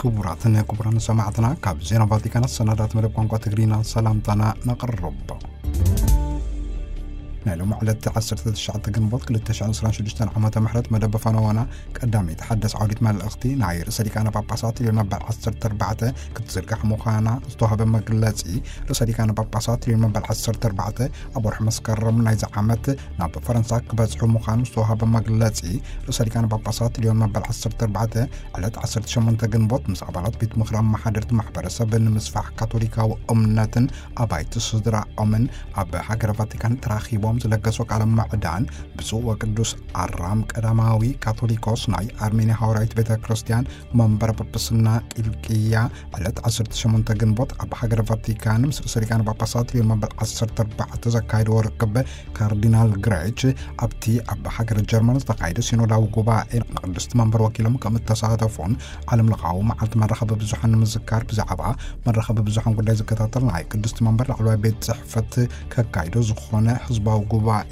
ክቡራትን ክቡራን ሰማዕትና፣ ካብ ዜና ቫቲካን ኣሰናዳት መደብ ቋንቋ ትግርኛ ሰላምታና ነቕርብ። ናይ ሎሚ ዕለት ዓሰርተ ትሽዓተ ግንቦት ክልተ ሽሕን ዕስራን ሽዱሽተን ዓመተ ምሕረት መደብ ፈነወና ቀዳመይቲ ሓደስ ዓውዲት መልእኽቲ ናይ ርእሰ ሊቃነ ጳጳሳት ሊዮን መበል ዓሰርተ ኣርባዕተ ክትዝርጋሕ ምዃና ዝተዋህበ መግለጺ። ርእሰ ሊቃነ ጳጳሳት ሊዮን መበል ዓሰርተ ኣርባዕተ ኣብ ወርሒ መስከረም ናይዚ ዓመት ናብ ፈረንሳ ክበጽሑ ምዃኑ ዝተዋህበ መግለጺ። ርእሰ ሊቃነ ጳጳሳት ሊዮን መበል ዓሰርተ ኣርባዕተ ዕለት ዓሰርተ ሸሞንተ ግንቦት ምስ ኣባላት ቤት ምኽሪ ኣመሓደርቲ ማሕበረሰብ ንምስፋሕ ካቶሊካዊ እምነትን ኣባይቲ ስድራኦምን ኣብ ሃገረ ቫቲካን ተራኺቦም ዝለገሶ ቃለ ምዕዳን፣ ብፁዕ ወቅዱስ ኣራም ቀዳማዊ ካቶሊኮስ ናይ ኣርሜንያ ሃዋርያዊት ቤተ ክርስቲያን መንበረ ጳጳስና ቂልቅያ ዕለት ዓሰርተ ሸሞንተ ግንቦት ኣብ ሃገረ ቫቲካን ምስ ርእሰ ሊቃነ ጳጳሳት ሊዮን መበል ዓሰርተ ኣርባዕተ ዘካየድዎ ርክብ ካርዲናል ግሬች ኣብቲ ኣብ ሃገረ ጀርመን ዝተኻየደ ሲኖዳዊ ጉባኤ ንቅድስቲ መንበር ወኪሎም ከም እተሳተፉን ዓለም ለኻዊ መዓልቲ መራኸቢ ብዙሓን ንምዝካር ብዛዕባ መራኸቢ ብዙሓን ጉዳይ ዝከታተል ናይ ቅድስቲ መንበር ላዕለዋይ ቤት ጽሕፈት ከካይዶ ዝኾነ ህዝባዊ ጉባኤ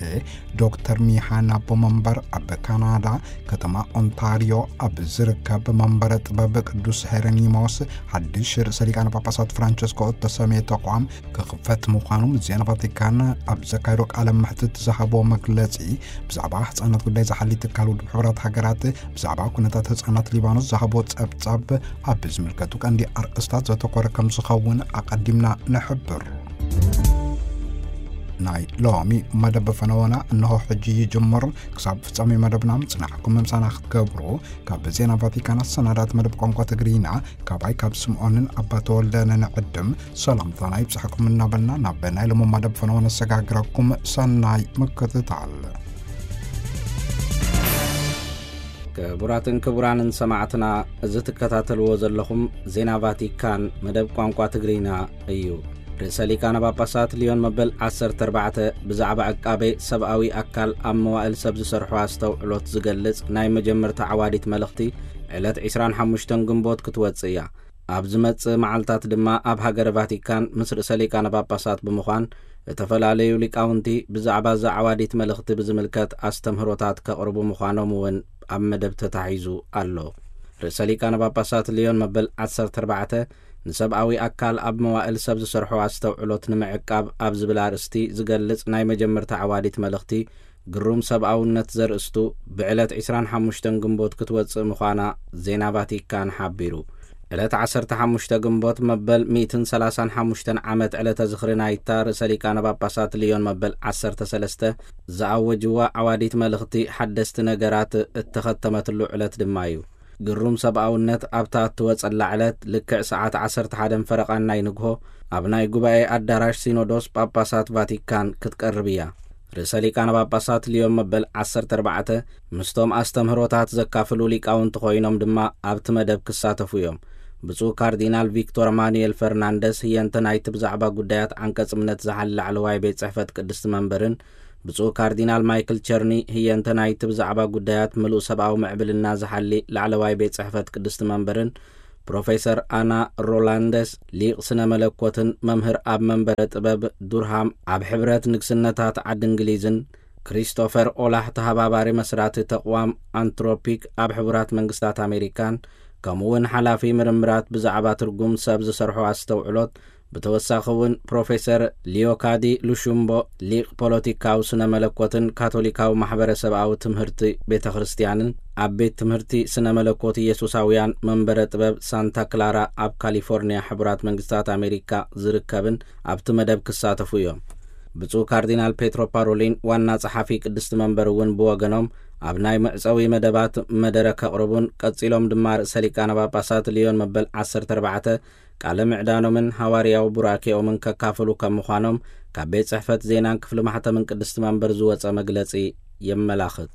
ዶክተር ሚሃን ኣቦ መንበር ኣብ ካናዳ ከተማ ኦንታሪዮ ኣብ ዝርከብ መንበረ ጥበብ ቅዱስ ሄረኒሞስ ሓድሽ ርእሰ ሊቃነ ጳጳሳት ፍራንቸስኮ እተሰምየ ተቋም ክኽፈት ምዃኑ ምስ ዜና ቫቲካን ኣብ ዘካየዶ ቃለ መሕትት ዝሃቦ መግለጺ፣ ብዛዕባ ህጻናት ጉዳይ ዝሓሊ ትካል ውድብ ሕቡራት ሃገራት ብዛዕባ ኩነታት ህጻናት ሊባኖስ ዝሃቦ ጸብጻብ ኣብ ዝምልከቱ ቀንዲ ኣርእስታት ዘተኮረ ከም ዝኸውን ኣቐዲምና ንሕብር። ናይ ሎሚ መደብ ፈነወና እንሆ ሕጂ ይጅምር። ክሳብ ፍጻሜ መደብና ምጽናሕኩም ምሳና ክትገብሩ ካብ ዜና ቫቲካን ኣሰናዳት መደብ ቋንቋ ትግርኛ ካባይ ካብ ስምዖንን ኣባ ተወልደን ንዕድም ሰላምታና ይብጽሕኩም እናበልና ናብ ናይ ሎሚ መደብ ፈነወ ነሰጋግረኩም። ሰናይ ምክትታል። ክቡራትን ክቡራንን ሰማዕትና፣ እዚ ትከታተልዎ ዘለኹም ዜና ቫቲካን መደብ ቋንቋ ትግርኛ እዩ። ርእሰ ሊቃነ ጳጳሳት ሊዮን መበል ዓሰርተ ኣርባዕተ ብዛዕባ ዕቃቤ ሰብኣዊ ኣካል ኣብ መዋእል ሰብ ዝሰርሖ ኣስተውዕሎት ዝገልጽ ናይ መጀመርታ ዓዋዲት መልእኽቲ ዕለት ዕስራን ሓሙሽተን ግንቦት ክትወጽእ እያ። ኣብ ዝመጽእ መዓልታት ድማ ኣብ ሃገረ ቫቲካን ምስ ርእሰ ሊቃነ ጳጳሳት ብምዃን እተፈላለዩ ሊቃውንቲ ብዛዕባ እዛ ዓዋዲት መልእኽቲ ብዝምልከት ኣስተምህሮታት ከቕርቡ ምዃኖም እውን ኣብ መደብ ተታሒዙ ኣሎ። ርእሰ ሊቃነ ጳጳሳት ሊዮን መበል ዓሰርተ ኣርባዕተ ንሰብኣዊ ኣካል ኣብ መዋእል ሰብ ዝሰርሖ ኣስተውዕሎት ንምዕቃብ ኣብ ዝብል ኣርእስቲ ዝገልጽ ናይ መጀመርታ ዓዋዲት መልእኽቲ ግሩም ሰብኣውነት ዘርእስቱ ብዕለት ዕስራን ሓሙሽተን ግንቦት ክትወጽእ ምዃና ዜና ቫቲካን ሓቢሩ። ዕለት ዓሰርተ ሓሙሽተ ግንቦት መበል ሚእትን ሰላሳን ሓሙሽተን ዓመት ዕለተ ዝኽሪ ናይታ ርእሰ ሊቃነ ጳጳሳት ሊዮን መበል ዓሰርተ ሰለስተ ዝኣወጅዋ ዓዋዲት መልእኽቲ ሓደስቲ ነገራት እተኸተመትሉ ዕለት ድማ እዩ። ግሩም ሰብኣውነት ኣብታ እትወጸላ ዕለት ልክዕ ሰዓት ዓሰርተ ሓደን ፈረቓን ናይ ንግሆ ኣብ ናይ ጉባኤ ኣዳራሽ ሲኖዶስ ጳጳሳት ቫቲካን ክትቀርብ እያ። ርእሰ ሊቃነ ጳጳሳት ሊዮን መበል ዓሰርተ ኣርባዕተ ምስቶም ኣስተምህሮታት ዘካፍሉ ሊቃውንቲ ኮይኖም ድማ ኣብቲ መደብ ክሳተፉ እዮም። ብፁዕ ካርዲናል ቪክቶር ማኑኤል ፈርናንደስ ህየንተ ናይቲ ብዛዕባ ጉዳያት ዓንቀጽ እምነት ዝሓሊ ላዕለዋይ ቤት ጽሕፈት ቅድስቲ መንበርን ብፁዕ ካርዲናል ማይክል ቸርኒ ህየንተ ናይቲ ብዛዕባ ጉዳያት ምሉእ ሰብኣዊ ምዕብልና ዝሓሊ ላዕለዋይ ቤት ጽሕፈት ቅድስቲ መንበርን ፕሮፌሰር ኣና ሮላንደስ ሊቕ ስነ መለኮትን መምህር ኣብ መንበረ ጥበብ ዱርሃም ኣብ ሕብረት ንግስነታት ዓዲ እንግሊዝን ክሪስቶፈር ኦላህ ተሃባባሪ መስራቲ ተቕዋም ኣንትሮፒክ ኣብ ሕቡራት መንግስታት ኣሜሪካን ከምኡውን ሓላፊ ምርምራት ብዛዕባ ትርጉም ሰብ ዝሰርሖ ኣስተውዕሎት ብተወሳኺ እውን ፕሮፌሰር ሊዮካዲ ሉሹምቦ ሊቕ ፖለቲካዊ ስነ መለኮትን ካቶሊካዊ ማሕበረሰብኣዊ ትምህርቲ ቤተ ክርስቲያንን ኣብ ቤት ትምህርቲ ስነ መለኮት ኢየሱሳውያን መንበረ ጥበብ ሳንታ ክላራ ኣብ ካሊፎርኒያ ሕቡራት መንግስታት ኣሜሪካ ዝርከብን ኣብቲ መደብ ክሳተፉ እዮም። ብፁዕ ካርዲናል ፔትሮ ፓሮሊን ዋና ጸሓፊ ቅድስቲ መንበር እውን ብወገኖም ኣብ ናይ መዕጸዊ መደባት መደረ ከቕርቡን ቀጺሎም ድማ ርእሰ ሊቃነ ጳጳሳት ሊዮን መበል ዓሰርተ ኣርባዕተ ቃለ ምዕዳኖምን ሃዋርያዊ ቡራኬኦምን ከካፍሉ ከም ምዃኖም ካብ ቤት ጽሕፈት ዜናን ክፍሊ ማሕተምን ቅድስቲ መንበር ዝወጸ መግለጺ የመላኽት።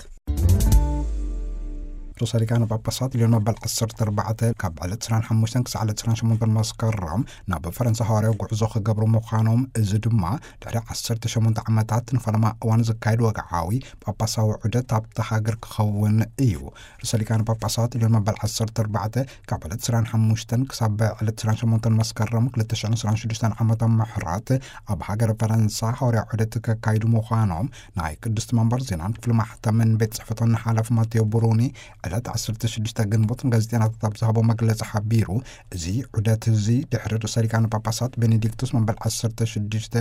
ርእሰ ሊቃነ ጳጳሳት ሊዮን መበል ዓሰርተ ኣርባዕተ ካብ ዕለት ዕስራን ሓሙሽተን ክሳዕ ዕለት ዕስራን ሸሞንተን መስከረም ናብ ፈረንሳ ሃዋርያዊ ጉዕዞ ክገብሩ ምዃኖም፣ እዚ ድማ ድሕሪ ዓሰርተ ሸሞንተ ዓመታት ንፈለማ እዋን ዝካየድ ወግዓዊ ጳጳሳዊ ዑደት ኣብታ ሃገር ክኸውን እዩ። ርእሰ ሊቃነ ጳጳሳት ሊዮን መበል ዓሰርተ ኣርባዕተ ካብ ዕለት ዕስራን ሓሙሽተን ክሳብ ዕለት ዕስራን ሸሞንተን መስከረም ክልተ ሽሕን ዕስራን ሽዱሽተን ዓመተ ምሕረት ኣብ ሃገረ ፈረንሳ ሃዋርያዊ ዑደት ከካይዱ ምዃኖም ናይ ቅድስቲ መንበር ዜናን ክፍሊ ማሕተምን ቤት ጽሕፈቶን ሓላፊ ማቴዎ ብሩኒ፣ ዕለት ዓሰርተ ሽዱሽተ ግንቦት ንጋዜጠኛታት ኣብ ዝሃቦ መግለጺ ሓቢሩ፣ እዚ ዑደት እዚ ድሕሪ ርእሰ ሊቃነ ጳጳሳት ቤኔዲክቱስ መበል ዓሰርተ ሽዱሽተ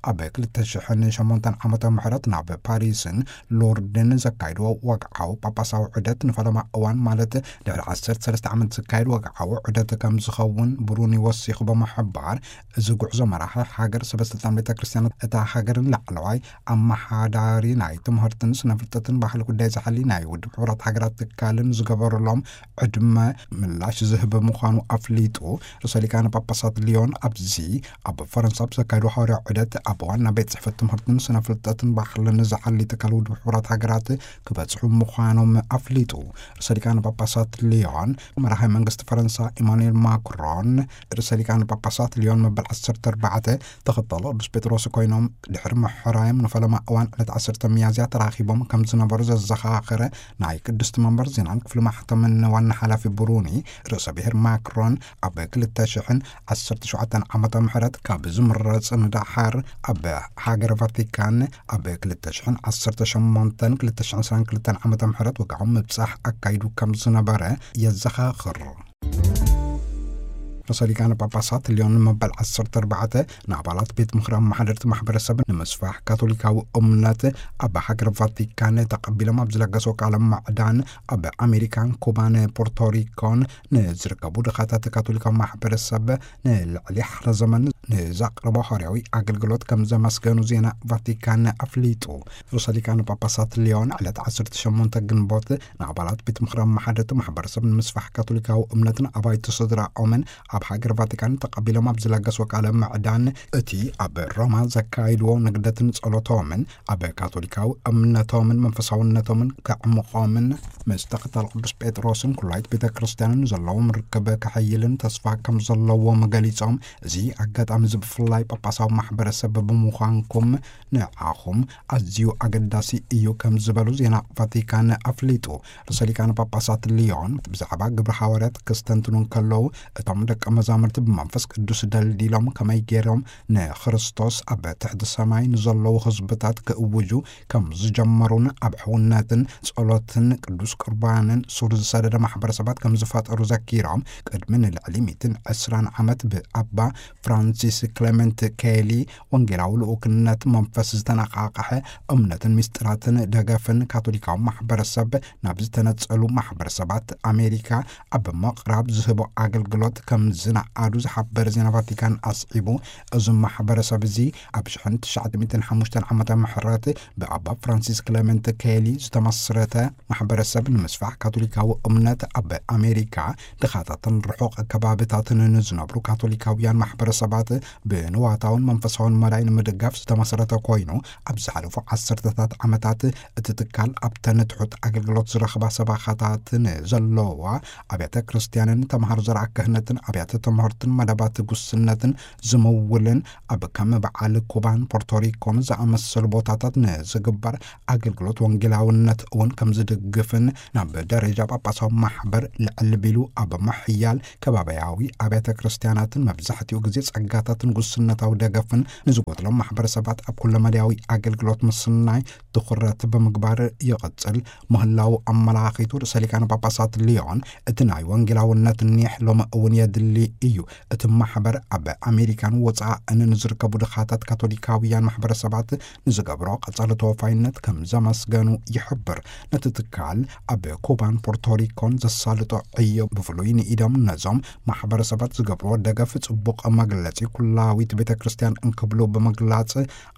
ኣብ ክልተ ሽሕን ሸሞንተን ዓመተ ምሕረት ናብ ፓሪስን ሎርድን ዘካይድዎ ወግዓዊ ጳጳሳዊ ዑደት ንፈለማ እዋን፣ ማለት ድሕሪ ዓሰርተ ሰለስተ ዓመት ዝካየድ ወግዓዊ ዑደት ከም ዝኸውን ብሩኒ ወሲኹ ብምሕባር፣ እዚ ጉዕዞ መራሒ ሃገር፣ ሰበ ስልጣን ቤተ ክርስቲያን እታ ሃገርን ላዕለዋይ ኣመሓዳሪ ናይ ትምህርትን ስነ ፍልጠትን ባህሊ ጉዳይ ዝሓሊ ናይ ውድብ ሕቡራት ሃገራት ትካልን ዝገበሩሎም ዕድመ ምላሽ ዝህብ ምዃኑ ኣፍሊጡ። ርእሰ ሊቃነ ጳጳሳት ሊዮን ኣብዚ ኣብ ፈረንሳ ኣብ ዘካየዶ ሃዋርያዊ ዑደት ኣብ ዋና ቤት ጽሕፈት ትምህርትን ስነ ፍልጠትን ባህልን ዝሓሊ ትካል ውድብ ሕቡራት ሃገራት ክበጽሑ ምዃኖም ኣፍሊጡ። ርእሰ ሊቃነ ጳጳሳት ሊዮን መራሒ መንግስቲ ፈረንሳ ኢማኑኤል ማክሮን፣ ርእሰ ሊቃነ ጳጳሳት ሊዮን መበል ዓሰርተ ኣርባዕተ ተኸተሎ ቅዱስ ጴጥሮስ ኮይኖም ድሕሪ ምሕራዮም ንፈለማ እዋን ዕለት ዓሰርተ ሚያዝያ ተራኺቦም ከም ዝነበሩ ዘዘኻኸረ ናይ ቅድስቲ መንበር ዜናን ክፍሊ ማሕተምን ዋና ሓላፊ ብሩኒ ርእሰ ብሔር ማክሮን፣ ኣብ ክልተ ሽሕን ዓሰርተ ሸውዓተን ዓመተ ምሕረት ካብ ዝምረጽ ንደሓር ኣብ ሃገር ቫቲካን ኣብ ክልተ ሽሕን ዓሰርተ ሸሞንተን ክልተ ሽሕን ዕስራን ክልተን ዓመተ ምሕረት ወግዓዊ ምብጻሕ ኣካይዱ ከም ዝነበረ የዘኻኽር። ርእሰ ሊቃነ ጳጳሳት ሊዮን መበል ዓሰርተ ኣርባዕተ ንኣባላት ቤት ምኽሪ ኣመሓደርቲ ማሕበረሰብ ንምስፋሕ ካቶሊካዊ እምነት ኣብ ሃገር ቫቲካን ተቐቢሎም ኣብ ዝለገሰ ቃለ ምዕዳን፣ ኣብ ኣሜሪካን ኩባን ፖርቶሪኮን ንዝርከቡ ድኻታት ካቶሊካዊ ማሕበረሰብ ንልዕሊ ሓደ ዘመን ንዘቕረቦ ሃዋርያዊ ኣገልግሎት ከም ዘመስገኑ ዜና ቫቲካን ኣፍሊጡ። ርእሰ ሊቃነ ጳጳሳት ሊዮን ዕለት ዓሰርተ ሸሞንተ ግንቦት ንኣባላት ቤት ምኽሪ ኣመሓደርቲ ማሕበረሰብ ንምስፋሕ ካቶሊካዊ እምነትን ኣባይቲ ስድራኦምን ኣብ ሃገር ቫቲካን ተቐቢሎም ኣብ ዝለገስዎ ቃለ ምዕዳን፣ እቲ ኣብ ሮማ ዘካይድዎ ንግደትን ጸሎቶምን ኣብ ካቶሊካዊ እምነቶምን መንፈሳውነቶምን ከዕምቖምን፣ ምስ ተኸታል ቅዱስ ጴጥሮስን ኩላይት ቤተ ክርስቲያንን ዘለዎም ርክብ ከሐይልን ተስፋ ከም ዘለዎም ገሊጾም፣ እዚ ኣጋጣሚ እዚ ብፍላይ ጳጳሳዊ ማሕበረሰብ ብምዃንኩም ንዓኹም ኣዝዩ ኣገዳሲ እዩ ከም ዝበሉ ዜና ቫቲካን ኣፍሊጡ። ርእሰ ሊቃነ ጳጳሳት ሊዮን ብዛዕባ ግብረ ሃዋርያት ከስተንትኑ እንከለዉ፣ እቶም ደቀ መዛሙርቲ ብመንፈስ ቅዱስ ደልዲሎም ከመይ ገይሮም ንክርስቶስ ኣብ ትሕቲ ሰማይ ንዘለዉ ህዝብታት ክእውጁ ከም ዝጀመሩን ኣብ ሕውነትን ጸሎትን ቅዱስ ቁርባንን ሱር ዝሰደደ ማሕበረሰባት ከም ዝፈጠሩ ዘኪሮም፣ ቅድሚ ንልዕሊ ሚእትን ዕስራን ዓመት ብኣባ ፍራንሲስ ክሌመንት ኬሊ ወንጌላዊ ልኡክነት መንፈስ ዝተነቓቕሐ እምነትን ምስጢራትን ደገፍን ካቶሊካዊ ማሕበረሰብ ናብ ዝተነጸሉ ማሕበረሰባት ኣሜሪካ ኣብ ምቕራብ ዝህቦ ኣገልግሎት ከም ዝነኣዱ ዝሓበረ ዜና ቫቲካን ኣስዒቡ፣ እዚ ማሕበረሰብ እዚ ኣብ ሽሕን ትሽዓተ ሚእትን ሓሙሽተን ዓመተ ምሕረት ብኣባ ፍራንሲስ ክሌመንት ኬሊ ዝተመስረተ ማሕበረሰብ ንምስፋሕ ካቶሊካዊ እምነት ኣብ ኣሜሪካ ድኻታትን ርሑቕ ከባብታትን ንዝነብሩ ካቶሊካውያን ማሕበረሰባት ብንዋታውን መንፈሳውን መዳይ ንምድጋፍ ዝተመስረተ ኮይኑ፣ ኣብ ዝሓለፉ ዓሰርተታት ዓመታት እቲ ትካል ኣብተን ትሑት ኣገልግሎት ዝረኽባ ሰባኻታት ንዘለዋ ኣብያተ ክርስቲያንን ተምሃሮ ዘርዓ ክህነትን ኣብያተ ትምህርትን መደባት ጉስነትን ዝምውልን፣ ኣብ ከም በዓል ኩባን ፖርቶሪኮን ዝኣመሰሉ ቦታታት ንዝግበር ኣገልግሎት ወንጌላውነት እውን ከም ዝድግፍን፣ ናብ ደረጃ ጳጳሳዊ ማሕበር ልዕል ቢሉ ኣብ ምሕያል ከባቢያዊ ኣብያተ ክርስቲያናትን መብዛሕትኡ ግዜ ጸጋታትን ጉስነታዊ ደገፍን ንዝጎድሎም ማሕበረሰባት ኣብ ኩለመዳያዊ ኣገልግሎት ምስናይ ትኹረት ብምግባር ይቕጽል ምህላው ኣመላኺቱ፣ ርእሰ ሊቃነ ጳጳሳት ሊዮን፣ እቲ ናይ ወንጌላውነት ኒሕ ሎሚ እውን የድሊ እዩ። እቲ ማሕበር ኣብ ኣሜሪካን ወጻእን ንዝርከቡ ድኻታት ካቶሊካውያን ማሕበረሰባት ንዝገብሮ ቀጻሊ ተወፋይነት ከም ዘመስገኑ ይሕብር። ነቲ ትካል ኣብ ኩባን ፖርቶሪኮን ዘሳልጦ ዕዮ፣ ብፍሉይ ንኢዶም ነዞም ማሕበረሰባት ዝገብርዎ ደገፍ ጽቡቕ መግለጺ ኩላዊት ቤተ ክርስቲያን እንክብሉ ብምግላጽ፣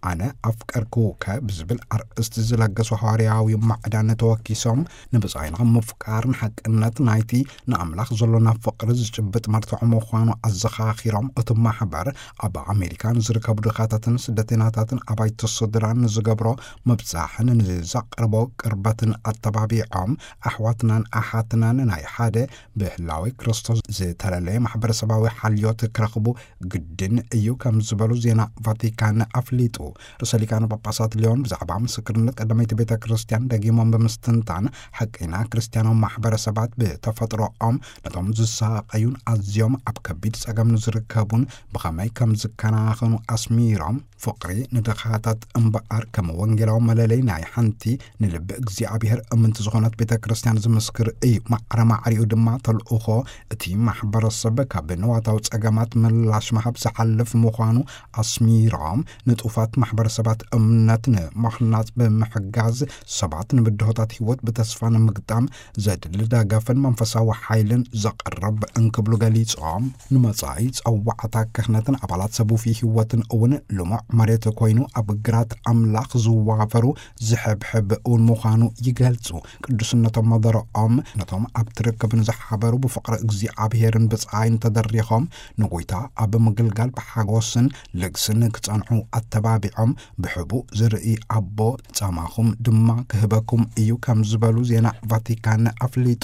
ኣነ ኣፍቀርኩከ ብዝብል ኣርእስቲ ዝለገሱ ሃዋርያዊ ማዕዳን ተወኪሶም፣ ንብጻይና ምፍቃር ንሓቅነት ናይቲ ንኣምላኽ ዘሎና ፍቕሪ ዝጭብጥ መርትዖ ምዃኑ ኣዘኻኺሮም፣ እቲ ማሕበር ኣብ ኣሜሪካ ንዝርከቡ ድኻታትን ስደተኛታትን ኣባይቲ ስድራን ንዝገብሮ ምብጻሕን ንዘቕርቦ ቅርበትን ኣተባቢዖም፣ ኣሕዋትናን ኣሓትናን ናይ ሓደ ብህላዌ ክርስቶስ ዝተለለየ ማሕበረሰባዊ ሓልዮት ክረኽቡ ግድን እዩ ከም ዝበሉ ዜና ቫቲካን ኣፍሊጡ። ርእሰ ሊቃነ ጳጳሳት ሊዮን ብዛዕባ ምስክርነት ቀዳመይቲ ቤተ ክርስቲያን ደጊሞም ብምስትንታን፣ ሓቀይና ክርስቲያናዊ ማሕበረሰባት ብተፈጥሮኦም ነቶም ዝሳቐዩን ኣዝዮም ኣብ ከቢድ ጸገም ንዝርከቡን ብኸመይ ከም ዝከናኸኑ ኣስሚሮም፣ ፍቕሪ ንድኻታት እምበኣር ከም ወንጌላዊ መለለይ ናይ ሓንቲ ንልቢ እግዚኣብሔር እምንቲ ዝኾነት ቤተ ክርስቲያን ዝምስክር እዩ። ማዕረ ማዕሪኡ ድማ ተልእኾ እቲ ማሕበረሰብ ካብ ንዋታዊ ጸገማት ምላሽ ምሃብ ዝሓልፍ ምዃኑ ኣስሚሮም፣ ንጡፋት ማሕበረሰባት እምነት ንምሕናጽ ብምሕጋዝ፣ ሰባት ንብድሆታት ህይወት ብተስፋ ንምግጣም ዘድሊ ደገፍን መንፈሳዊ ሓይልን ዘቕርብ እንክብሉ ገሊጾም፣ ንመጻኢ ጸዋዕታ ክህነትን ኣባላት ሰቡፊ ህይወትን እውን ልሙዕ መሬት ኮይኑ ኣብ ግራት ኣምላኽ ዝዋፈሩ ዝሕብሕብ እውን ምዃኑ ይገልጹ። ቅዱስነቶም መደረኦም ነቶም ኣብ ትርክብ ንዝሓበሩ ብፍቕሪ እግዚኣብሔርን ብጻይን ተደሪኾም ንጎይታ ኣብ ምግልጋል ብሓጎስን ልግስን ክጸንሑ ኣተባቢዖም፣ ብሕቡእ ዝርኢ ኣቦ ጻማኹም ድማ ክህበኩም እዩ ከም ዝበሉ ዜና ቫቲካን ኣፍሊጡ።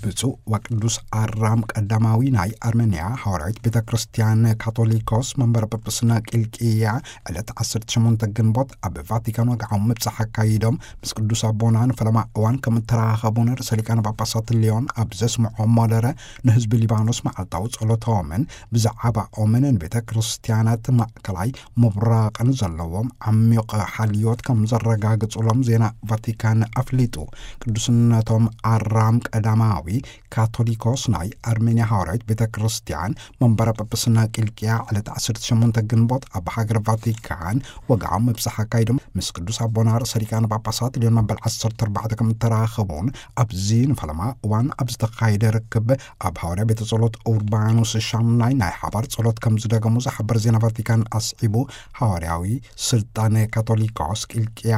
ብፁዕ ወቅዱስ ኣራም ቀዳማዊ ናይ ኣርሜንያ ሃዋርያዊት ቤተ ክርስቲያን ካቶሊኮስ መንበረ ጵጵስና ቂልቅያ ዕለት ዓሰርተ ሸሞንተ ግንቦት ኣብ ቫቲካን ወግዓዊ ምብጻሕ ኣካይዶም፣ ምስ ቅዱስ ኣቦና ንፈለማ እዋን ከም እተራኸቡን ርእሰ ሊቃነ ጳጳሳት ሊዮን ኣብ ዘስምዖ መደረ ንህዝቢ ሊባኖስ መዓልታዊ ጸሎቶምን ብዛዕባኦምን ንቤተ ክርስቲያናት ማእከላይ ምብራቕን ዘለዎም ዓሚቕ ሓልዮት ከም ዘረጋግጹሎም ዜና ቫቲካን ኣፍሊጡ። ቅዱስነቶም ኣራም ቀዳማዊ ካቶሊኮስ ናይ ኣርሜንያ ሃዋርያዊት ቤተ ክርስቲያን መንበረ ጳጳስና ቂልቅያ ዕለት ዓሰርተ ሸሞንተ ግንቦት ኣብ ሃገር ቫቲካን ወግዓዊ ምብጻሕ ኣካይዶም፣ ምስ ቅዱስ ኣቦና ርእሰ ሊቃነ ጳጳሳት ሊዮን መበል ዓሰርተ ኣርባዕተ ከም እተራኸቡን ኣብዚ ንፈለማ እዋን ኣብ ዝተኻየደ ርክብ ኣብ ሃዋርያ ቤተ ጸሎት ኡርባኖስ ሻምናይ ናይ ሓባር ጸሎት ከም ዝደገሙ ዝሓበር ዜና ቫቲካን ኣስዒቡ፣ ሃዋርያዊ ስልጣነ ካቶሊኮስ ቂልቅያ፣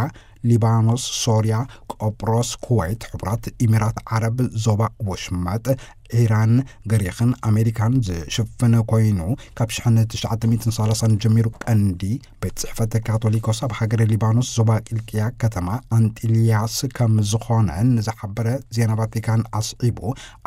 ሊባኖስ፣ ሶርያ፣ ቆጵሮስ፣ ኩወይት፣ ሕቡራት ኢሚራት ዓረብ፣ ዞባ ወሽመጥ፣ ኢራን፣ ግሪኽን ኣሜሪካን ዝሽፍን ኮይኑ፣ ካብ ሽሕን ትሽዓተ ሚእትን ሰላሳን ጀሚሩ ቀንዲ ቤት ጽሕፈት ካቶሊኮስ ኣብ ሃገረ ሊባኖስ ዞባ ቂልቅያ ከተማ ኣንጢልያስ ከም ዝኾነ ንዝሓበረ ዜና ቫቲካን ኣስዒቡ፣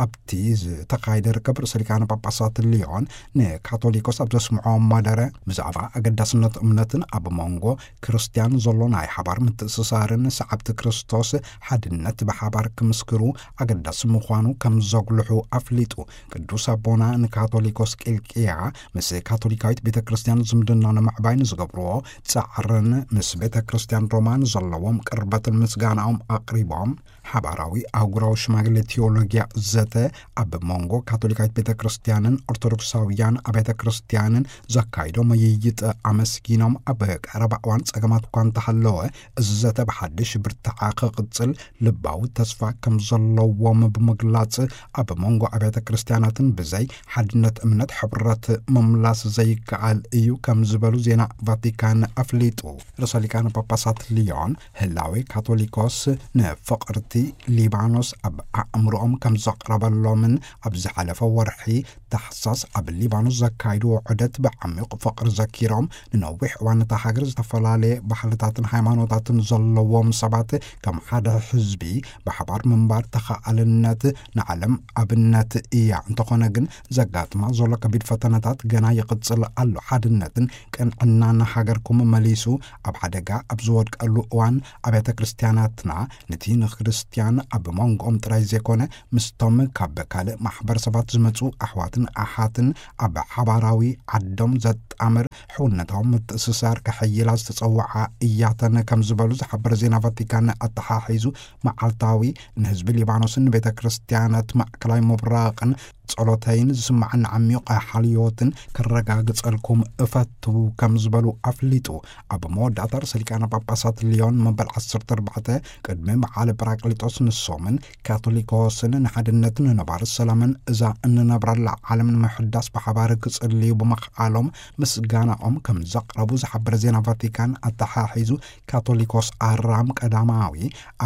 ኣብቲ ዝተኻየደ ርክብ ርእሰ ሊቃነ ጳጳሳት ሊዮን ንካቶሊኮስ ኣብ ዘስምዖ መደረ ብዛዕባ ኣገዳስነት እምነትን ኣብ መንጎ ክርስቲያን ዘሎ ናይ ሓባር ምትእስሳርን ሰዓብቲ ክርስቶስ ሓድነት ብሓባር ክምስክሩ ኣገዳሲ ምዃኑ ከም ዘጉልሑ ኣፍሊጡ። ቅዱስ ኣቦና ንካቶሊኮስ ቂልቅያ ምስ ካቶሊካዊት ቤተ ክርስቲያን ዝምድና ንምዕባይ ንዝገብርዎ ጻዕርን ምስ ቤተ ክርስቲያን ሮማ ንዘለዎም ቅርበትን ምስጋናኦም ኣቕሪቦም፣ ሓባራዊ ኣህጉራዊ ሽማግሌ ቴዎሎጊያ ዘተ ኣብ መንጎ ካቶሊካዊት ቤተ ክርስቲያንን ኦርቶዶክሳውያን ኣብያተ ክርስቲያንን ዘካይዶ ምይይጥ ኣመስጊኖም፣ ኣብ ቀረባ እዋን ጸገማት እኳ እንተሃለወ፣ እዚ ዘተ ብሓድሽ ብርታዐ ክቕጽል ልባዊ ተስፋ ከም ዘለዎም ብምግላጽ፣ ኣብ መንጎ ኣብያተ ክርስቲያናትን ብዘይ ሓድነት እምነት ሕብረት ምምላስ ዘይከኣል እዩ ከም ዝበሉ ዜና ቫቲካን ኣፍሊጡ። ርእሰ ሊቃነ ጳጳሳት ሊዮን፣ ህላዌ ካቶሊኮስ ንፍቕርቲ ሊባኖስ ኣብ ኣእምሮኦም ከም ዘቕረበሎምን፣ ኣብ ዝሓለፈ ወርሒ ታሕሳስ ኣብ ሊባኖስ ዘካይድዎ ዑደት ብዓሚቕ ፍቕሪ ዘኪሮም፣ ንነዊሕ እዋን እታ ሃገር ዝተፈላለየ ባህልታትን ሃይማኖታትን ዘለዎም ሰባት ከም ሓደ ህዝቢ ብሓባር ምንባር ተኸኣልነት ንዓለም ኣብነት እያ። እንተኾነ ግን ዘጋጥማ ዘሎ ከቢድ ፈተነታት ገና ይቕጽል ኣሎ። ሓድነትን ቅንዕናን ሃገርኩም መሊሱ ኣብ ሓደጋ ኣብ ዝወድቀሉ እዋን ኣብያተ ክርስቲያናትና ነቲ ንክርስትያን ኣብ መንጎኦም ጥራይ ዘይኮነ ምስቶም ካብ ካልእ ማሕበረሰባት ዝመጹ ኣሕዋትን ኣሓትን ኣብ ሓባራዊ ዓዶም ዘጣምር ሕውነታዊ ምትእስሳር ከሐይላ ዝተጸውዓ እያተን ከም ዝበሉ ዝሓበረ ዜና ቫቲካን ኣተሓሒዙ፣ መዓልታዊ ንህዝቢ ሊባኖስን ንቤተ ክርስቲያናት ማእከላይ ምብራቕን ጸሎተይን ዝስምዓኒ ዓሚቕ ሓልዮትን ከረጋግጸልኩም እፈቱ ከም ዝበሉ ኣፍሊጡ። ኣብ መወዳእታ ርእሰ ሊቃነ ጳጳሳት ሊዮን መበል ዓሰርተ ኣርባዕተ ቅድሚ በዓለ ጳራቅሊጦስ ንሶምን ካቶሊኮስን ንሓድነትን ንነባሪ ሰላምን እዛ እንነብረላ ዓለም ንምሕዳስ ብሓባር ክጽልዩ ብምኽኣሎም ምስጋናኦም ከም ዘቕረቡ ዝሓበረ ዜና ቫቲካን ኣተሓሒዙ፣ ካቶሊኮስ ኣራም ቀዳማዊ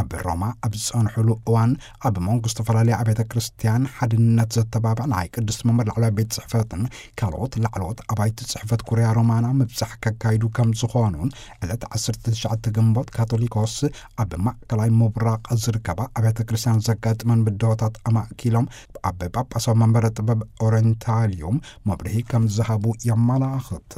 ኣብ ሮማ ኣብ ዝጸንሕሉ እዋን ኣብ መንጎ ዝተፈላለያ ኣብያተ ክርስቲያን ሓድነት ዘተባብዕ ናይ ቅድስቲ መንበር ላዕለዋይ ቤት ጽሕፈትን ካልኦት ላዕለዎት ኣባይቲ ጽሕፈት ኩርያ ሮማና ምብጻሕ ከካይዱ ከም ዝኾኑን ዕለት ዓሰርተ ትሽዓተ ግንቦት ካቶሊኮስ ኣብ ማእከላይ ምብራቕ ዝርከባ ኣብያተ ክርስቲያን ዘጋጥመን ብድሆታት ኣማእኪሎም ኣብ ጳጳሳዊ መንበረ ጥበብ ኦሬንታሊዩም መብርሂ ከም ዝሃቡ የመላኽት።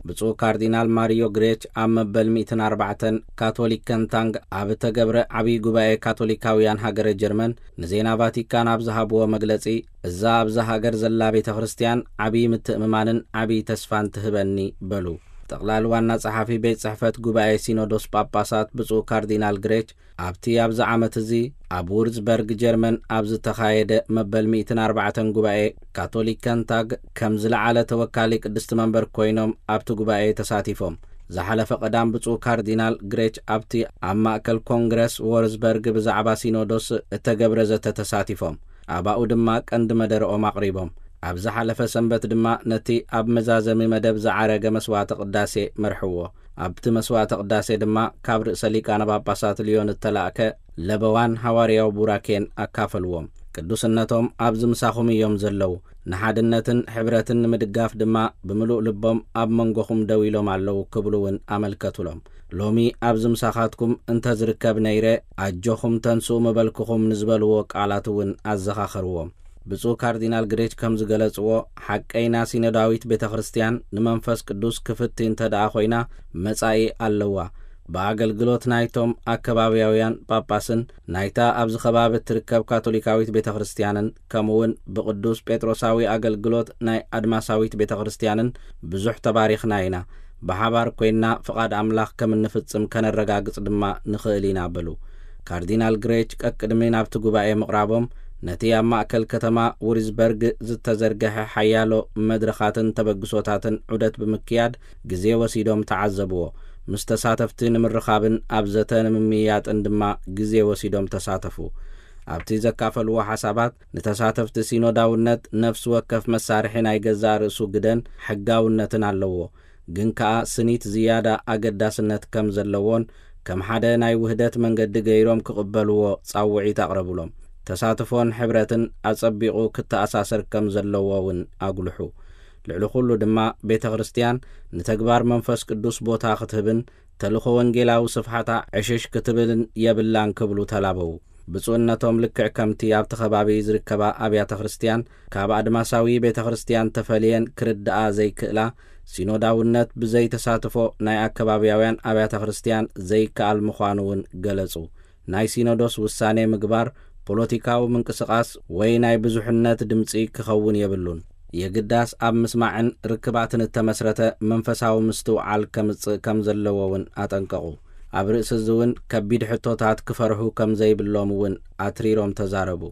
ብፁዕ ካርዲናል ማሪዮ ግሬች ኣብ መበል ሚእትን ኣርባዕተን ካቶሊክ ከንታንግ ኣብ እተገብረ ዓብዪ ጉባኤ ካቶሊካውያን ሃገረ ጀርመን ንዜና ቫቲካን ኣብ ዝሃብዎ መግለጺ፣ እዛ ኣብዛ ሃገር ዘላ ቤተ ክርስቲያን ዓብዪ ምትእምማንን ዓብዪ ተስፋን ትህበኒ በሉ። ጠቕላሊ ዋና ጸሓፊ ቤት ጽሕፈት ጉባኤ ሲኖዶስ ጳጳሳት ብፁዕ ካርዲናል ግሬች ኣብቲ ኣብዚ ዓመት እዚ ኣብ ውርዝበርግ ጀርመን ኣብ ዝተኻየደ መበል ሚእትን ኣርባዕተን ጉባኤ ካቶሊክ ከንታግ ከም ዝለዓለ ተወካሊ ቅድስቲ መንበር ኮይኖም ኣብቲ ጉባኤ ተሳቲፎም። ዝሓለፈ ቀዳም ብፁዕ ካርዲናል ግሬች ኣብቲ ኣብ ማእከል ኮንግረስ ዎርዝበርግ ብዛዕባ ሲኖዶስ እተገብረ ዘተ ተሳቲፎም። ኣብኡ ድማ ቀንዲ መደረኦም ኣቕሪቦም። ኣብ ዝሓለፈ ሰንበት ድማ ነቲ ኣብ መዛዘሚ መደብ ዝዓረገ መስዋዕተ ቅዳሴ መርሕዎ። ኣብቲ መስዋዕተ ቅዳሴ ድማ ካብ ርእሰ ሊቃነ ጳጳሳት ልዮን እተላእከ ለበዋን ሃዋርያዊ ቡራኬን ኣካፈልዎም። ቅዱስነቶም ኣብዚ ምሳኹም እዮም ዘለዉ። ንሓድነትን ሕብረትን ንምድጋፍ ድማ ብምሉእ ልቦም ኣብ መንጎኹም ደው ኢሎም ኣለዉ ክብሉ እውን ኣመልከቱሎም። ሎሚ ኣብዚ ምሳኻትኩም እንተ ዝርከብ ነይረ፣ ኣጆኹም ተንስኡ ምበልኩኹም ንዝበልዎ ቃላት እውን ኣዘኻኸርዎም። ብፁዕ ካርዲናል ግሬች ከም ዝገለጽዎ፣ ሓቀይና ሲኖዳዊት ቤተ ክርስቲያን ንመንፈስ ቅዱስ ክፍቲ እንተ ደኣ ኮይና መጻኢ ኣለዋ። ብኣገልግሎት ናይቶም ኣከባብያውያን ጳጳስን ናይታ ኣብዚ ከባቢ እትርከብ ካቶሊካዊት ቤተ ክርስቲያንን ከምኡውን ብቅዱስ ጴጥሮሳዊ ኣገልግሎት ናይ ኣድማሳዊት ቤተ ክርስቲያንን ብዙሕ ተባሪኽና ኢና። ብሓባር ኮይንና ፍቓድ ኣምላኽ ከም እንፍጽም ከነረጋግጽ ድማ ንኽእል ኢና በሉ። ካርዲናል ግሬች ቀቅድሚ ናብቲ ጉባኤ ምቕራቦም ነቲ ኣብ ማእከል ከተማ ውሪዝበርግ ዝተዘርገሐ ሓያሎ መድረኻትን ተበግሶታትን ዑደት ብምክያድ ግዜ ወሲዶም ተዓዘብዎ። ምስ ተሳተፍቲ ንምርኻብን ኣብ ዘተ ንምምይያጥን ድማ ግዜ ወሲዶም ተሳተፉ። ኣብቲ ዘካፈልዎ ሓሳባት ንተሳተፍቲ ሲኖዳውነት ነፍሲ ወከፍ መሳርሒ ናይ ገዛእ ርእሱ ግደን ሕጋውነትን ኣለዎ። ግን ከኣ ስኒት ዝያዳ ኣገዳስነት ከም ዘለዎን ከም ሓደ ናይ ውህደት መንገዲ ገይሮም ክቕበልዎ ጻውዒት ኣቕረቡሎም። ተሳትፎን ሕብረትን ኣጸቢቑ ክተኣሳሰር ከም ዘለዎ እውን ኣጉልሑ። ልዕሊ ኩሉ ድማ ቤተ ክርስቲያን ንተግባር መንፈስ ቅዱስ ቦታ ክትህብን ተልእኾ ወንጌላዊ ስፍሓታ ዕሽሽ ክትብልን የብላን ክብሉ ተላበዉ። ብፁዕነቶም ልክዕ ከምቲ ኣብቲ ከባቢ ዝርከባ ኣብያተ ክርስቲያን ካብ ኣድማሳዊ ቤተ ክርስቲያን ተፈልየን ክርድኣ ዘይክእላ፣ ሲኖዳውነት ብዘይተሳትፎ ናይ ኣከባብያውያን ኣብያተ ክርስቲያን ዘይከኣል ምዃኑ እውን ገለጹ። ናይ ሲኖዶስ ውሳኔ ምግባር ፖለቲካዊ ምንቅስቓስ ወይ ናይ ብዙሕነት ድምጺ ክኸውን የብሉን። የግዳስ ኣብ ምስማዕን ርክባትን እተመስረተ መንፈሳዊ ምስትውዓል ከምጽእ ከም ዘለዎ እውን ኣጠንቀቑ። ኣብ ርእሲ እዚ እውን ከቢድ ሕቶታት ክፈርሑ ከም ዘይብሎም እውን ኣትሪሮም ተዛረቡ።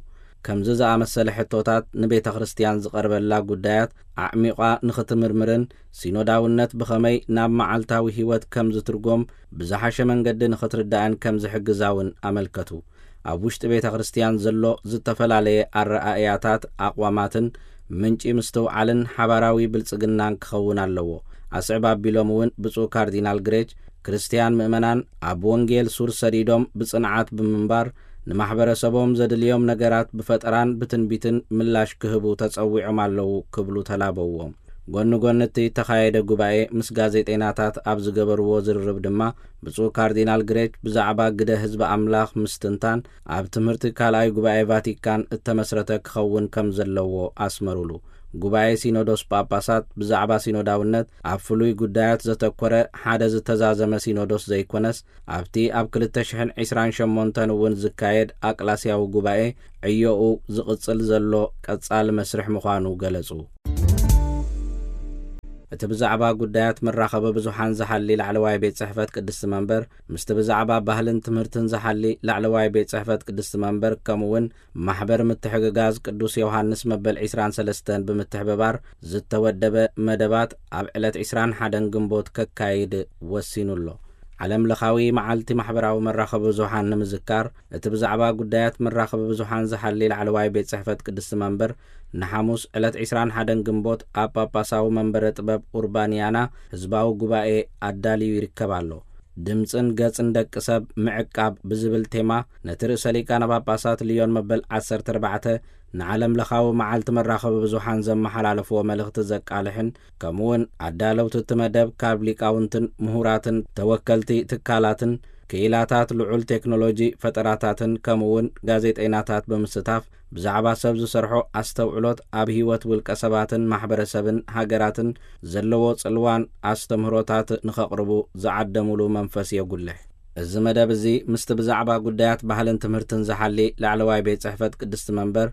ከምዚ ዝኣመሰለ ሕቶታት ንቤተ ክርስቲያን ዝቐርበላ ጉዳያት ኣዕሚቋ ንኽትምርምርን ሲኖዳውነት ብኸመይ ናብ መዓልታዊ ህይወት ከም ዝትርጎም ብዝሓሸ መንገዲ ንኽትርዳእን ከም ዝሕግዛ እውን ኣመልከቱ። ኣብ ውሽጢ ቤተ ክርስቲያን ዘሎ ዝተፈላለየ ኣረኣእያታት፣ ኣቕዋማትን ምንጪ ምስትውዓልን ሓባራዊ ብልጽግናን ክኸውን ኣለዎ። ኣስዕብ ኣቢሎም እውን ብፁዕ ካርዲናል ግሬች ክርስቲያን ምእመናን ኣብ ወንጌል ሱር ሰዲዶም ብጽንዓት ብምንባር ንማሕበረሰቦም ዘድልዮም ነገራት ብፈጠራን ብትንቢትን ምላሽ ክህቡ ተጸዊዖም ኣለዉ ክብሉ ተላበዎም። ጎኒ ጎኒ እቲ እተኻየደ ጉባኤ ምስ ጋዜጠይናታት ኣብ ዝገበርዎ ዝርርብ ድማ ብፁዕ ካርዲናል ግሬች ብዛዕባ ግደ ህዝቢ ኣምላኽ ምስትንታን ኣብ ትምህርቲ ካልኣይ ጉባኤ ቫቲካን እተመስረተ ክኸውን ከም ዘለዎ ኣስመሩሉ። ጉባኤ ሲኖዶስ ጳጳሳት ብዛዕባ ሲኖዳውነት ኣብ ፍሉይ ጉዳያት ዘተኮረ ሓደ ዝተዛዘመ ሲኖዶስ ዘይኮነስ ኣብቲ ኣብ ክልተ ሽሕን ዕስራን ሸሞንተን እውን ዝካየድ ኣቅላስያዊ ጉባኤ ዕዮኡ ዝቕጽል ዘሎ ቀጻሊ መስርሕ ምዃኑ ገለጹ። እቲ ብዛዕባ ጉዳያት መራኸቢ ብዙሓን ዝሓሊ ላዕለዋይ ቤት ጽሕፈት ቅድስቲ መንበር ምስቲ ብዛዕባ ባህልን ትምህርትን ዝሓሊ ላዕለዋይ ቤት ጽሕፈት ቅድስቲ መንበር ከምኡውን ማሕበር ምትሕግጋዝ ቅዱስ ዮሃንስ መበል ዕስራን ሰለስተን ብምትሕብባር ዝተወደበ መደባት ኣብ ዕለት ዕስራን ሓደን ግንቦት ከካይድ ወሲኑ ኣሎ። ዓለም ለኻዊ መዓልቲ ማሕበራዊ መራኸቢ ብዙሓን ንምዝካር እቲ ብዛዕባ ጉዳያት መራኸቢ ብዙሓን ዝሓሊ ላዕለዋይ ቤት ጽሕፈት ቅድስቲ መንበር ንሓሙስ ዕለት ዕስራን ሓደን ግንቦት ኣብ ጳጳሳዊ መንበረ ጥበብ ኡርባንያና ህዝባዊ ጉባኤ ኣዳልዩ ይርከብ ኣሎ። ድምጽን ገጽን ደቂ ሰብ ምዕቃብ ብዝብል ቴማ ነቲ ርእሰ ሊቃነ ጳጳሳት ልዮን መበል ዓሰርተ ኣርባዕተ ንዓለም ለኻዊ መዓልቲ መራኸቢ ብዙሓን ዘመሓላለፍዎ መልእኽቲ ዘቃልሕን ከምኡውን ኣዳለውቲ እቲ መደብ ካብ ሊቃውንትን ምሁራትን ተወከልቲ ትካላትን ክኢላታት ልዑል ቴክኖሎጂ ፈጠራታትን ከምኡውን ጋዜጠይናታት ብምስታፍ ብዛዕባ ሰብ ዝሰርሖ ኣስተውዕሎት ኣብ ህይወት ውልቀ ሰባትን ማሕበረሰብን ሃገራትን ዘለዎ ጽልዋን ኣስተምህሮታት ንኸቕርቡ ዝዓደሙሉ መንፈስ የጉልሕ። እዚ መደብ እዚ ምስቲ ብዛዕባ ጉዳያት ባህልን ትምህርትን ዝሓሊ ላዕለዋይ ቤት ጽሕፈት ቅድስቲ መንበር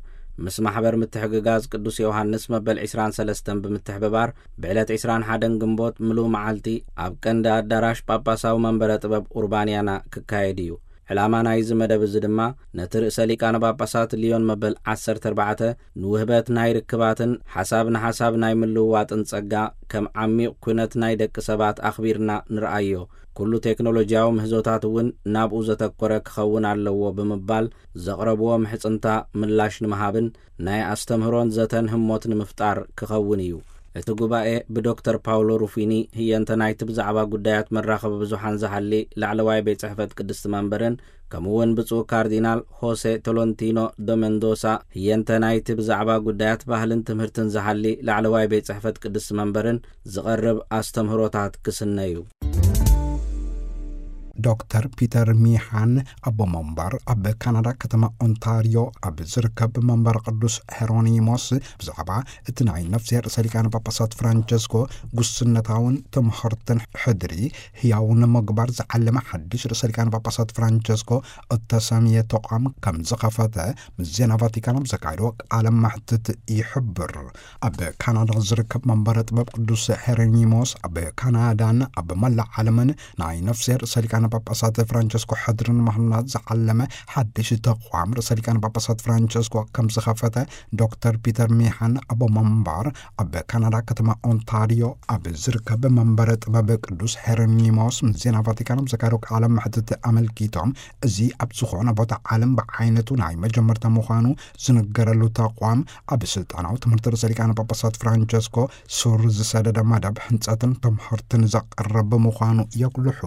ምስ ማሕበር ምትሕግጋዝ ቅዱስ ዮሃንስ መበል ዕስራን ሰለስተን ብምትሕብባር ብዕለት ዕስራን ሓደን ግንቦት ምሉእ መዓልቲ ኣብ ቀንዲ ኣዳራሽ ጳጳሳዊ መንበረ ጥበብ ኡርባንያና ክካየድ እዩ። ዕላማ ናይዚ መደብ እዚ ድማ ነቲ ርእሰ ሊቃነ ጳጳሳት ሊዮን መበል ዓሰርተ ኣርባዕተ ንውህበት ናይ ርክባትን ሓሳብ ንሓሳብ ናይ ምልውዋጥን ጸጋ ከም ዓሚቕ ኩነት ናይ ደቂ ሰባት ኣኽቢርና ንርኣዮ፣ ኩሉ ቴክኖሎጂያዊ ምህዞታት እውን ናብኡ ዘተኮረ ክኸውን ኣለዎ ብምባል ዘቕረብዎ ምሕጽንታ ምላሽ ንምሃብን ናይ ኣስተምህሮን ዘተን ህሞት ንምፍጣር ክኸውን እዩ። እቲ ጉባኤ ብዶክተር ፓውሎ ሩፊኒ ህየንተ ናይቲ ብዛዕባ ጉዳያት መራኸቢ ብዙሓን ዝሃሊ ላዕለዋይ ቤት ጽሕፈት ቅድስቲ መንበርን ከምኡውን ብፁዕ ካርዲናል ሆሴ ቶሎንቲኖ ዶ ሜንዶሳ ህየንተ ናይቲ ብዛዕባ ጉዳያት ባህልን ትምህርትን ዝሃሊ ላዕለዋይ ቤት ጽሕፈት ቅድስቲ መንበርን ዝቐርብ ኣስተምህሮታት ክስነ እዩ። ዶክተር ፒተር ሚሃን ኣቦ መንበር ኣብ ካናዳ ከተማ ኦንታርዮ ኣብ ዝርከብ መንበር ቅዱስ ሄሮኒሞስ ብዛዕባ እቲ ናይ ነፍስሄር ርእሰ ሊቃነ ጳጳሳት ፍራንቸስኮ ጉስነታውን ትምህርትን ሕድሪ ህያው ንምግባር ዝዓለመ ሓድሽ ርእሰ ሊቃነ ጳጳሳት ፍራንቸስኮ እተሰምየ ተቋም ከም ዝኸፈተ ምስ ዜና ቫቲካን ኣብ ዘካየዶ ቃለ መሕትት ይሕብር። ኣብ ካናዳ ዝርከብ መንበረ ጥበብ ቅዱስ ሄሬኒሞስ ኣብ ካናዳን ኣብ መላእ ዓለምን ናይ ነፍስሄር ርእሰ ሊቃነ ጳጳሳት ፍራንቸስኮ ሕድሪ ንምህናጽ ዝዓለመ ሓድሽ ተቋም ርእሰ ሊቃነ ጳጳሳት ፍራንቸስኮ ከም ዝኸፈተ ዶክተር ፒተር ሚሃን ኣቦ መንበር ኣብ ካናዳ ከተማ ኦንታርዮ ኣብ ዝርከብ መንበረ ጥበብ ቅዱስ ሄሬኒሞስ ምስ ዜና ቫቲካን ኣብ ዘካየዶ ቃለ መሕትት ኣመልኪቶም፣ እዚ ኣብ ዝኾነ ቦታ ዓለም ብዓይነቱ ናይ መጀመርታ ምዃኑ ዝንገረሉ ተቋም ኣብ ስልጣናዊ ትምህርቲ ርእሰ ሊቃነ ጳጳሳት ፍራንቸስኮ ሱር ዝሰደደ መደብ ህንጸትን ትምህርትን ዘቕርብ ምዃኑ የጉልሑ።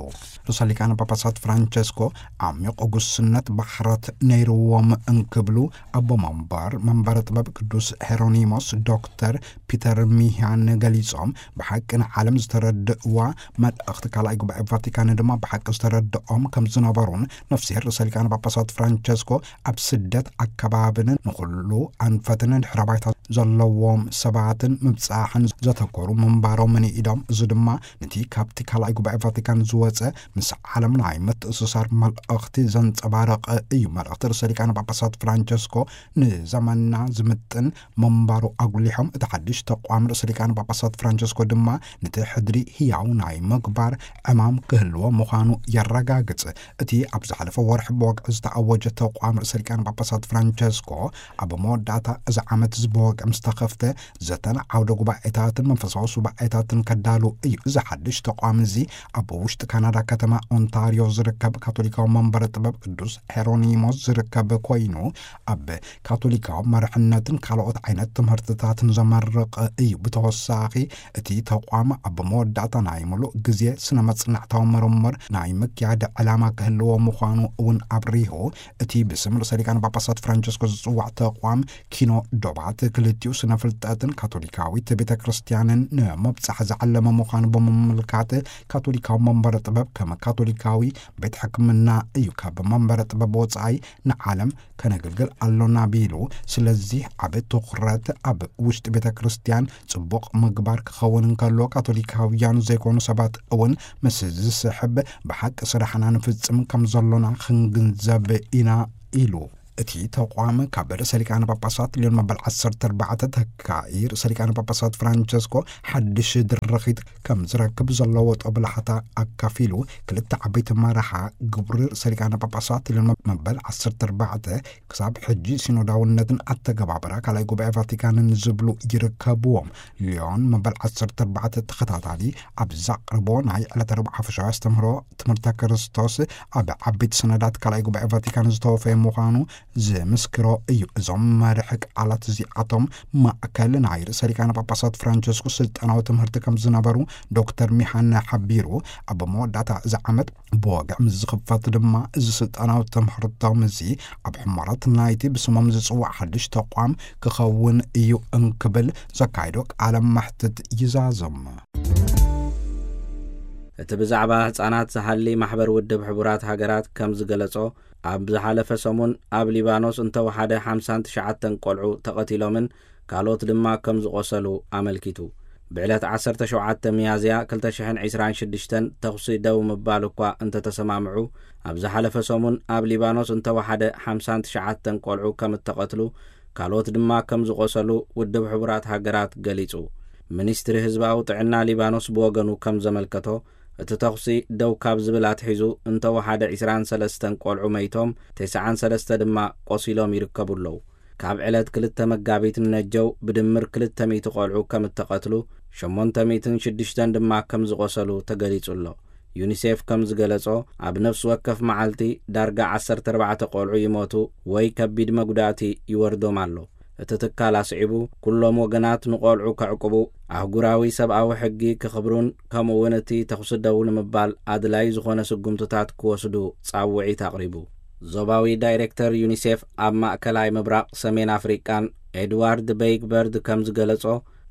ርእሰ ሊቃነ ጳጳሳት ፍራንቸስኮ ዓሚቕ ጉስነት ባሕረት ነይርዎም እንክብሉ ኣቦ መንበር መንበረ ጥበብ ቅዱስ ሄሮኒሞስ ዶክተር ፒተር ሚሃን ገሊጾም፣ ብሓቂ ንዓለም ዝተረድእዋ መልእኽቲ ካልኣይ ጉባኤ ቫቲካን ድማ ብሓቂ ዝተረድኦም ከም ዝነበሩን ነፍስሄር ርእሰ ሊቃነ ጳጳሳት ፍራንቸስኮ ኣብ ስደት ኣከባብን ንኹሉ ኣንፈትን ድሕረ ባይታ ዘለዎም ሰባትን ምብጻሕን ዘተኮሩ ምንባሮምን ኢዶም፣ እዚ ድማ ነቲ ካብቲ ካልኣይ ጉባኤ ቫቲካን ዝወጸ ምስ ዓለም ናይ ምትእስሳር መልእኽቲ ዘንጸባረቐ እዩ። መልእኽቲ ርእሰ ሊቃነ ጳጳሳት ፍራንቸስኮ ንዘመንና ዝምጥን ምንባሩ ኣጉሊሖም፣ እቲ ሓድሽ ተቋም ርእሰ ሊቃነ ጳጳሳት ፍራንቸስኮ ድማ ነቲ ሕድሪ ህያው ናይ ምግባር ዕማም ክህልዎ ምዃኑ የረጋግጽ። እቲ ኣብ ዝሓለፈ ወርሒ ብወግዒ ዝተኣወጀ ተቋም ርእሰ ሊቃነ ጳጳሳት ፍራንቸስኮ ኣብ መወዳእታ እዚ ዓመት እዚ ብወግዒ ምስ ተኸፍተ፣ ዘተን ዓውደ ጉባኤታትን መንፈሳዊ ሱባኤታትን ከዳሉ እዩ። እዚ ሓድሽ ተቋም እዚ ኣብ ውሽጢ ካናዳ ከተማ ኦንታርዮ ዝርከብ ካቶሊካዊ መንበረ ጥበብ ቅዱስ ሄሮኒሞስ ዝርከብ ኮይኑ፣ ኣብ ካቶሊካዊ መርሕነትን ካልኦት ዓይነት ትምህርትታትን ዘመርቕ እዩ። ብተወሳኺ፣ እቲ ተቋም ኣብ መወዳእታ ናይ ምሉእ ግዜ ስነ መጽናዕታዊ ምርምር ናይ ምክያድ ዕላማ ክህልዎ ምዃኑ እውን ኣብሪሁ። እቲ ብስም ርእሰ ሊቃነ ጳጳሳት ፍራንቸስኮ ዝጽዋዕ ተቋም ኪኖ ዶባት ክልቲኡ ስነ ፍልጠትን ካቶሊካዊት ቤተ ክርስቲያንን ንምብጻሕ ዝዓለመ ምዃኑ ብምምልካት፣ ካቶሊካዊ መንበረ ጥበብ ከም ካቶሊካዊ ቤት ሕክምና እዩ ካብ መንበረ ጥበብ ወጻኢ ንዓለም ከነገልግል ኣሎና ቢሉ። ስለዚህ ዓቢ ትኹረት ኣብ ውሽጢ ቤተ ክርስቲያን ጽቡቕ ምግባር ክኸውን እንከሎ፣ ካቶሊካውያን ዘይኮኑ ሰባት እውን ምስ ዝስሕብ ብሓቂ ስራሕና ንፍጽም ከም ዘሎና ክንግንዘብ ኢና ኢሉ። እቲ ተቋም ካብ ርእሰ ሊቃነ ጳጳሳት ሊዮን መበል ዓሰርተ ኣርባዕተ ተካኢ ርእሰ ሊቃነ ጳጳሳት ፍራንቸስኮ ሓድሽ ድርኺት ከም ዝረክብ ዘለዎ ጦብላሕታ ኣካፊሉ፣ ክልተ ዓበይቲ መርሓ ግብሪ ርእሰ ሊቃነ ጳጳሳት ሊዮን መበል ዓሰርተ ኣርባዕተ ክሳብ ሕጂ ሲኖዳውነትን ኣተገባብራ ካልኣይ ጉባኤ ቫቲካንን ዝብሉ ይርከብዎም። ሊዮን መበል ዓሰርተ ኣርባዕተ ተኸታታሊ ኣብ ዘቕርቦ ናይ ዕለተ ረቡዕ ሓፈሻዊ ኣስተምህሮ ትምህርተ ክርስቶስ፣ ኣብ ዓበይቲ ሰነዳት ካልኣይ ጉባኤ ቫቲካን ዝተወፈየ ምዃኑ ዝምስክሮ እዩ። እዞም መርሒ ቃላት እዚኣቶም ማእከል ናይ ርእሰ ሊቃነ ጳጳሳት ፍራንቸስኮ ስልጣናዊ ትምህርቲ ከም ዝነበሩ ዶክተር ሚሃነ ሓቢሩ፣ ኣብ መወዳእታ እዚ ዓመት ብወግዒ ምስ ዝኽፈት ድማ፣ እዚ ስልጣናዊ ትምህርቶም እዚ ኣብ ሕሞረት ናይቲ ብስሞም ዝጽዋዕ ሓድሽ ተቋም ክኸውን እዩ እንክብል ዘካይዶ ቃለ መሕትት ይዛዝም። እቲ ብዛዕባ ህጻናት ዝሃሊ ማሕበር ውድብ ሕቡራት ሃገራት ከም ዝገለጾ፣ ኣብ ዝሓለፈ ሰሙን ኣብ ሊባኖስ እንተወሓደ ሓምሳን ትሽዓተን ቆልዑ ተቐቲሎምን ካልኦት ድማ ከም ዝቖሰሉ ኣመልኪቱ። ብዕለት ዓሰርተ ሸውዓተ ሚያዝያ ክልተ ሽሕን ዕስራን ሽዱሽተን ተኹሲ ደው ምባል እኳ እንተተሰማምዑ፣ ኣብ ዝሓለፈ ሰሙን ኣብ ሊባኖስ እንተወሓደ ሓምሳን ትሽዓተን ቆልዑ ከም እተቐትሉ፣ ካልኦት ድማ ከም ዝቖሰሉ ውድብ ሕቡራት ሃገራት ገሊጹ። ሚኒስትሪ ህዝባዊ ጥዕና ሊባኖስ ብወገኑ ከም ዘመልከቶ፣ እቲ ተኹሲ ደው ካብ ዝብል ኣትሒዙ እንተወሓደ ዕስራን ሰለስተን ቆልዑ መይቶም፣ ተስዓን ሰለስተ ድማ ቆሲሎም ይርከቡ ኣለዉ። ካብ ዕለት ክልተ መጋቢት ንነጀው ብድምር ክልተ ሚእቲ ቆልዑ ከም እተቐትሉ፣ ሸሞንተ ሚእትን ሽዱሽተን ድማ ከም ዝቖሰሉ ተገሊጹ ኣሎ። ዩኒሴፍ ከም ዝገለጾ፣ ኣብ ነፍሲ ወከፍ መዓልቲ ዳርጋ ዓሰርተ ኣርባዕተ ቆልዑ ይሞቱ ወይ ከቢድ መጉዳእቲ ይወርዶም ኣሎ። እቲ ትካል ኣስዒቡ፣ ኩሎም ወገናት ንቆልዑ ከዕቁቡ፣ ኣህጉራዊ ሰብኣዊ ሕጊ ክኽብሩን ከምኡ እውን እቲ ተኹሲ ደው ንምባል ኣድላዪ ዝኾነ ስጉምትታት ክወስዱ ጻውዒት ኣቕሪቡ። ዞባዊ ዳይሬክተር ዩኒሴፍ ኣብ ማእከላይ ምብራቕ ሰሜን ኣፍሪቃን ኤድዋርድ በይግበርድ ከም ዝገለጾ፣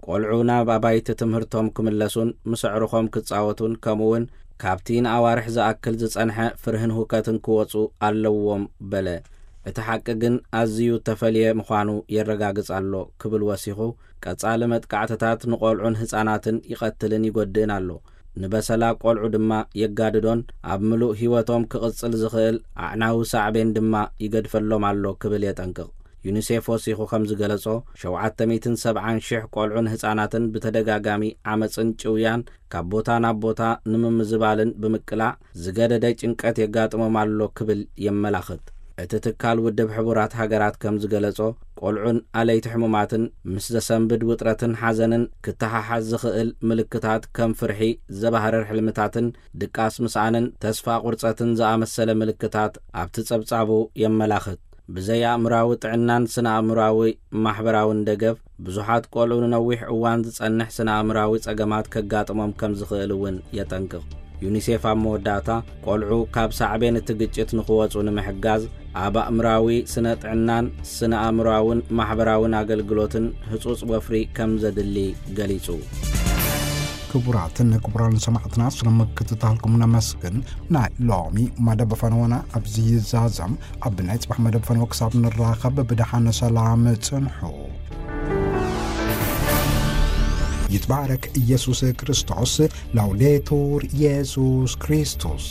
ቆልዑ ናብ ኣባይቲ ትምህርቶም ክምለሱን ምስ ኣዕሩኾም ክጻወቱን ከምኡውን ካብቲ ንኣዋርሕ ዝኣክል ዝጸንሐ ፍርህን ሁከትን ክወጹ ኣለዎም በለ። እቲ ሓቂ ግን ኣዝዩ እተፈልየ ምዃኑ የረጋግጽ ኣሎ ክብል ወሲኹ፣ ቀጻሊ መጥቃዕትታት ንቆልዑን ህጻናትን ይቐትልን ይጎድእን ኣሎ። ንበሰላ ቆልዑ ድማ የጋድዶን ኣብ ምሉእ ህይወቶም ክቕጽል ዝኽእል ኣዕናዊ ሳዕቤን ድማ ይገድፈሎም ኣሎ ክብል የጠንቅቕ። ዩኒሴፍ ወሲኹ ከም ዝገለጾ፣ ሸውዓተ ሚእትን ሰብዓን ሽሕ ቆልዑን ህጻናትን ብተደጋጋሚ ዓመጽን ጭውያን ካብ ቦታ ናብ ቦታ ንምምዝባልን ብምቅላዕ ዝገደደ ጭንቀት የጋጥሞም ኣሎ ክብል የመላኽት። እቲ ትካል ውድብ ሕቡራት ሃገራት ከም ዝገለጾ፣ ቆልዑን ኣለይቲ ሕሙማትን ምስ ዘሰንብድ ውጥረትን ሓዘንን ክተሓሓዝ ዝኽእል ምልክታት ከም ፍርሒ፣ ዘባህርር ሕልምታትን ድቃስ ምስኣንን ተስፋ ቁርጸትን ዝኣመሰለ ምልክታት ኣብቲ ጸብጻቡ የመላኽት። ብዘይ ኣእምራዊ ጥዕናን ስነ ኣእምራዊ ማሕበራውን ደገፍ፣ ብዙሓት ቆልዑ ንነዊሕ እዋን ዝጸንሕ ስነ ኣእምራዊ ጸገማት ከጋጥሞም ከም ዝኽእል እውን የጠንቅቕ። ዩኒሴፍ ኣብ መወዳእታ፣ ቆልዑ ካብ ሳዕቤን እቲ ግጭት ንኽወጹ ንምሕጋዝ፣ ኣብ ኣእምራዊ ስነ ጥዕናን ስነ ኣእምራውን ማሕበራውን ኣገልግሎትን ህጹጽ ወፍሪ ከም ዘድሊ ገሊጹ። ክቡራትን ክቡራን ሰማዕትና፣ ስለ ምክትታልኩም ነመስግን። ናይ ሎሚ መደብ ፈነወና ኣብዚ ይዛዘም። ኣብ ናይ ጽባሕ መደብ ፈነወ ክሳብ ንራኸብ ብደሓን ሰላም ጽንሑ። ይትባረክ ኢየሱስ ክርስቶስ። ላውዴቱር ኢየሱስ ክርስቶስ።